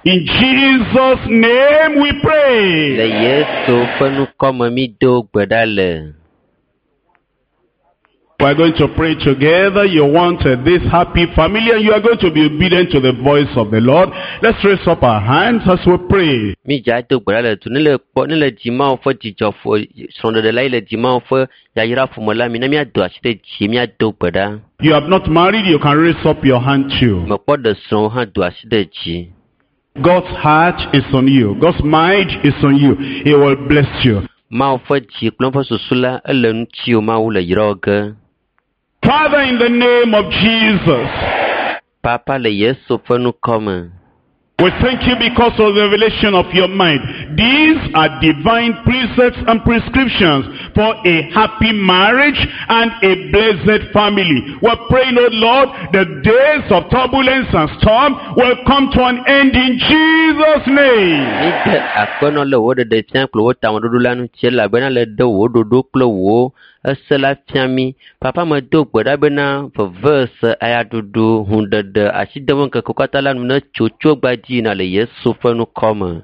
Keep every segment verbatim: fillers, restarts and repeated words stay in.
In Jesus' name we Le pray. Yesu ƒe ŋkɔme mi do gbe ɖa le. We are going to pray together. You want uh, this happy family and you are going to be obedient to the voice of the Lord. Let's raise up our hands as we pray. Mi dza do gbe ɖa le du ne le kpɔ ne le dzi Mawu ƒe dzidzɔ ƒo srɔ̃ɖeɖe la yi le dzi Mawu ƒe yayra ƒome la mi ne míado asi ɖe dzi míado gbe ɖa. You have not married, you can raise up your hand too. Mekpɔ ɖe srɔ̃wo hã do asi ɖe dzi. God's heart is on you. God's mind is on you. He will bless you. Mawu ƒe dzi kple eƒe susu la ele ŋutiwò Mawu le yra wò ge. Father, in the name of Jesus, Papa le Yesu ƒe ŋkɔme. we thank you because of the revelation of your mind. These are divine precepts and prescriptions for a happy marriage and a blessed family. We're praying, oh Lord, the days of turbulence and storm will come to an end in Jesus' name. Mi de akpenɔ le wò ɖeɖe fia kple wò tameɖoɖo la ŋuti elabena le ɖe wò ɖoɖo kple wò ese la fia mí. Papa medo gbe ɖa bena vevese, ayaɖuɖu, hũɖeɖe, asideme ŋkekewo katã la nu netso tso gbadzi yina le Yesu ƒe ŋkɔme.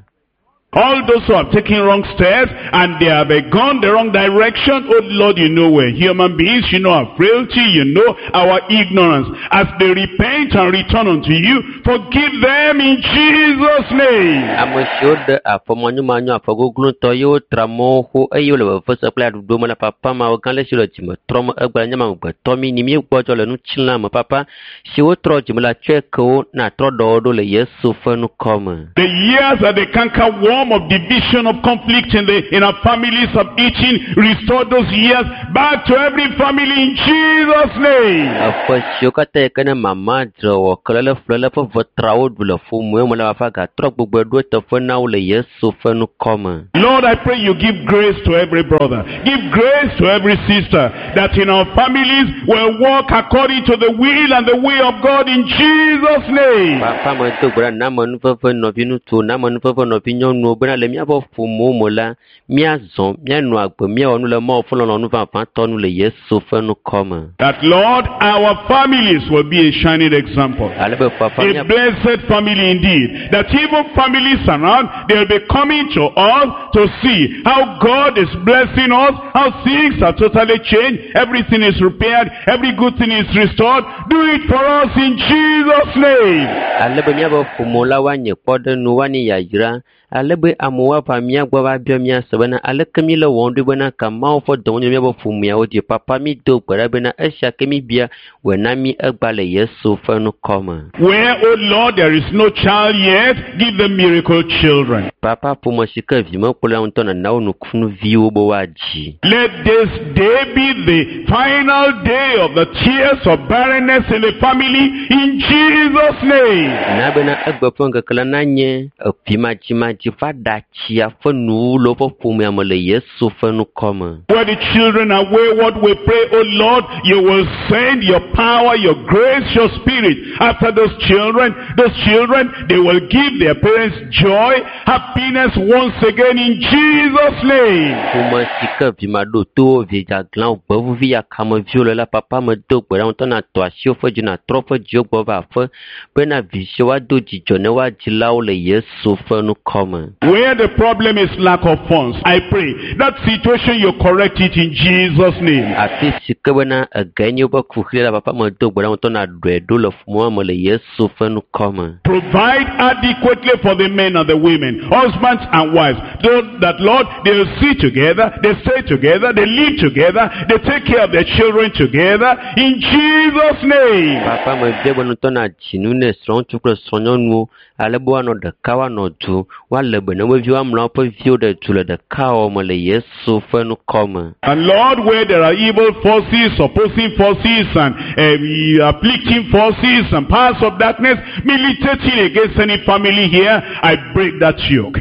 All those who have taken wrong steps and they have uh, gone the wrong direction, oh Lord, you know we're human beings, you know our frailty, you know our ignorance. As they repent and return unto you, forgive them in Jesus' name. Ame siwo ɖe afɔ manyomanyo afɔgogloŋutɔ ye wotra mɔwo xo eye wole vevese kple aɖuɖo me la papa mawo gã le si le dzime trɔm egbe le nye amegbetɔ mi ni míegbɔdzɔ le ŋutilã me papa si wotrɔ dzime la tsɔe ke wo natrɔ ɖɔwo ɖo le Yesu ƒe ŋkɔme. The years that the canker worm of division of conflict in the in our families have eaten, restore those years back to every family in Jesus' name. Eƒe siwo katã yi ke ne mama dzrewɔ kelele flele ƒe vetrawo ɖu le ƒomewo me la papa gatrɔ gbogbo ɖo eteƒe na wo le Yesu ƒe ŋkɔme. Lord, I pray you give grace to every brother. Give grace to every sister that in our families will walk according to the will and the way of God in Jesus' name. Papa medo gbe ɖa na amenuveve nɔviŋutsuwo, na amenuveve nɔvinyɔnuwo bena le míaƒe ƒomewo me la, míazɔ, míanɔ agbe, míawɔ nu le Mawu ƒe lɔlɔ̃nu vavãtɔ nu le Yesu ƒe ŋkɔme. That, Lord, our families will be a shining example. Ale be papa A mía blessed family indeed. That even families around, they'll be coming to us to see how God is blessing us, how things are totally changed, everything is repaired, every good thing is restored. Do it for us in Jesus' name. ale be míaƒe ƒomewo la woanye kpɔɖeŋu, woanye yayra. Ale be amewo ava mía gbɔ va biɔ mía se bena aleke míle wɔm ɖo bena ka Mawu ƒe dɔwɔnyo míaƒe ƒomeawo dzi. Papa mi do gbe ɖa bena esia ke mi bia wòe na mí egba le Yesu ƒe ŋkɔme. Where, oh Lord, there is no child yet, give them miracle children. Papa ƒome si ke vi mekpɔ la ŋutɔ nana wo nukunuviwo be woadzi. Let this day be the final day of the tears of barrenness in the family in Jesus' name. Na bena egbe ƒe ŋkeke la nanye evimadzimadzi ƒe aɖatsia ƒe nuwu le woƒe ƒomea me le Yesu ƒe ŋkɔme. Where the children are wayward, we pray, oh Lord, you will send your power, your grace, your spirit after those children. Those children, they will give their parents joy, happiness once again in Jesus' name. Ƒome si ke vi maɖotowo, vi dzaglãwo, gbevuvi yakameviwo le la, papa medo gbe ɖa ŋutɔ natɔ asi woƒe dzi, natrɔ woƒe dziwo gbɔ va aƒe bena vi siwo woado dzidzɔ ne woa dzilawo le Yesu ƒe ŋkɔme. Where the problem is lack of funds, I pray that situation you correct it in Jesus' name. Afi si ke bena ege nye woƒe kuxi la, papa medo gbe ɖa ŋutɔ naɖɔe ɖo le ƒomea me le Yesu ƒe ŋkɔme. Provide adequately for the men and the women, husbands and wives, so that, Lord, they'll see together, they stay together, they live together, they take care of their children together, in Jesus' name. Papa mebia be ŋutɔ nadzi nu ne srɔ̃ŋutsu kple srɔ̃nyɔnuwo ale be woanɔ ɖeka woanɔ du woalé be ne wo viwo amlɔ woƒe viwo ɖe du le ɖekawɔwɔ me le Yesu ƒe ŋkɔme. And Lord, where there are evil forces, opposing forces, and um, afflicting forces, and powers of darkness militating against any family here, I break that yoke.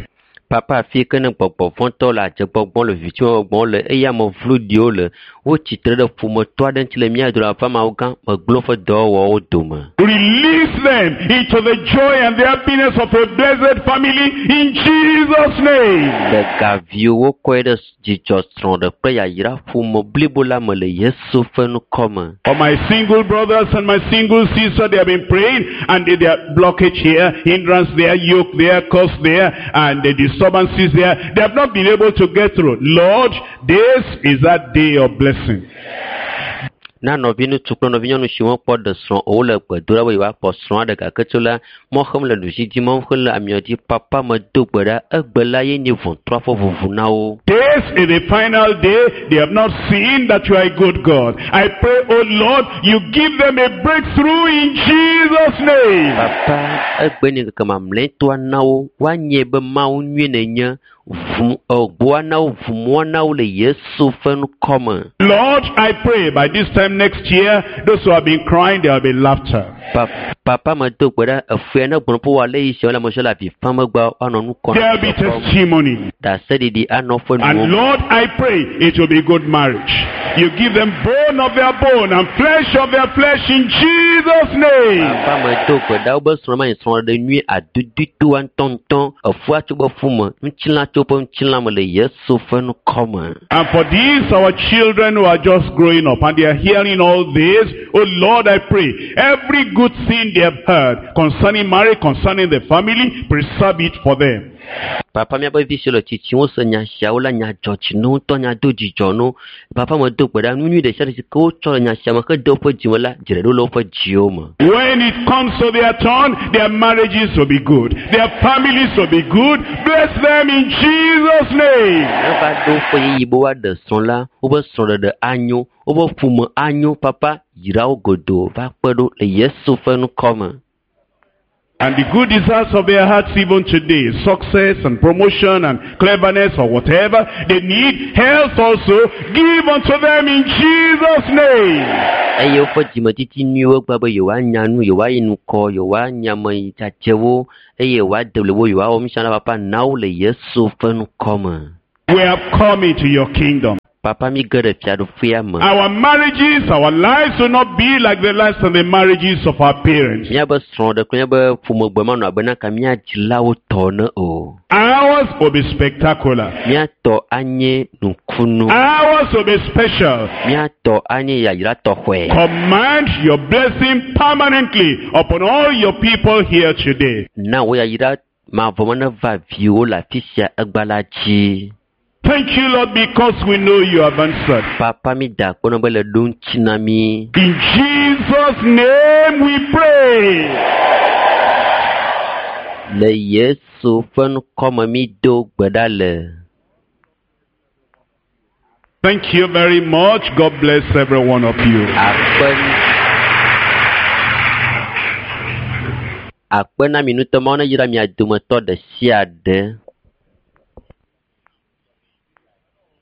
Papa afi ke ne gbɔgbɔ vɔ̃tɔwo le adzegbɔgbɔm le vivitiwɔgbɔm le eye ame vloɖiwo le wotsitre ɖe ƒometɔ aɖe ŋuti le mía dome aƒe ameawo gã megblẽ woƒe dɔwɔwɔwo dome. Release them into the joy and the happiness of a blessed family in Jesus' name. Ɖe gaviwo kɔe ɖe dzidzɔ srɔ̃ɖe kple yayra ƒome blibo la me le Yesu ƒe ŋkɔ me. For my single brothers and my single sisters, they have been praying and they, they are blockage here, hindrance there, yoke there, curse there, and the disturbances there. They have not been able to get through. Lord, this is that day of blessing. Na nɔviŋutsu kple nɔvinyɔnu siwo kpɔ ɖe srɔ̃ o wole gbe dom ɖa be yewoakpɔ srɔ̃ aɖe gake tso la mɔ xem le ɖusi dzi, mɔ xem le amiɔ dzi. Papa medo gbe ɖa egbe la ye nye ʋɔtrua ƒe ʋuʋu na wo. This is the final day. They have not seen that you are a good God. I pray, oh Lord, you give them a breakthrough in Jesus' name. Papa egbe nye ŋkeke mamlɛtɔa na wo woanye be Mawu nyui nenye ʋu egbɔa na wo ʋumɔa na wo le Yesu ƒe ŋkɔ me. Lord, I pray by this time next year, those who have been crying, there will be laughter. Pa papa medo gbe ɖa efua ne gblɔ ƒe wòale yi siawo le ame siwo le avi fam egbea woanɔ nu kɔm. There will be testimony. Ɖaseɖiɖi anɔ woƒe And nuwo me. Lord, I pray it will be good marriage. You give them bone of their bone and flesh of their flesh in Jesus' name. Papa medo gbe ɖa wobe srɔ̃ ma nye srɔ̃ɖeɖe nyui adudutoa ŋutɔŋutɔ efua tso woƒe ƒu me ŋutilã tso woƒe ŋutilã me le Yesu ƒe ŋkɔ me. And for these, our children who are just growing up and they are hearing all this, oh Lord, I pray, every good thing they have heard concerning marriage, concerning the family, preserve it for them. Papa míaƒe vi siwo le tsitsim wose nya siawo la nya dzɔ dzi na wo ŋutɔ nya do dzidzɔ na wo. Papa medo gbe ɖa nu nyui ɖe sia ɖe si ke wotsɔ le nya sia me hede woƒe dzime la dzre ɖo le woƒe dziwo me. When it comes to their turn, their marriages will be good. Their families will be good. Bless them in Jesus' name. Ne va ɖo woƒe ɣeyiɣi be woaɖe srɔ̃ la, woƒe srɔ̃ɖeɖe anyo, woƒe ƒome anyo. Papa yra wo godoo va kpe ɖo le Yesu ƒe ŋkɔ me. And the good desires of their hearts even today, success and promotion and cleverness or whatever, they need health also, give unto them in Jesus' name. Eye woƒe dzimetiti nyuiwo gba be yewoanya nu, yewoayi ŋkɔ, yewoanya ame dzadzewo eye yewoade blibo, yewoawɔ nu sia nu la papa na wo le Yesu ƒe ŋkɔ me. We have come into your kingdom. Papa mi ge ɖe fiaɖuƒea me. Our marriages, our lives will not be like the lives and the marriages of our parents. Míabe srɔ̃ɖe kple míabe ƒomegbe manɔ abe naka mía dzilawo tɔ ene o. Ours will be spectacular. Míatɔ anye nukunu. Ours will be special. Míatɔ anye yayra tɔxɔe. Command your blessing permanently upon all your people here today. Na wò yayra mavɔ me neva viwò le afi sia egba la dzi. Thank you, Lord, because we know you have answered. Papa mi da akpe na be le ɖo ŋuti na mi. In Jesus' name we pray. Le Yesu ƒe ŋkɔ me mi do gbe ɖa le. Thank you very much. God bless every one of you. Akpe akpe na mi ŋutɔ Mawu ne yra mia dometɔ ɖe sia ɖe.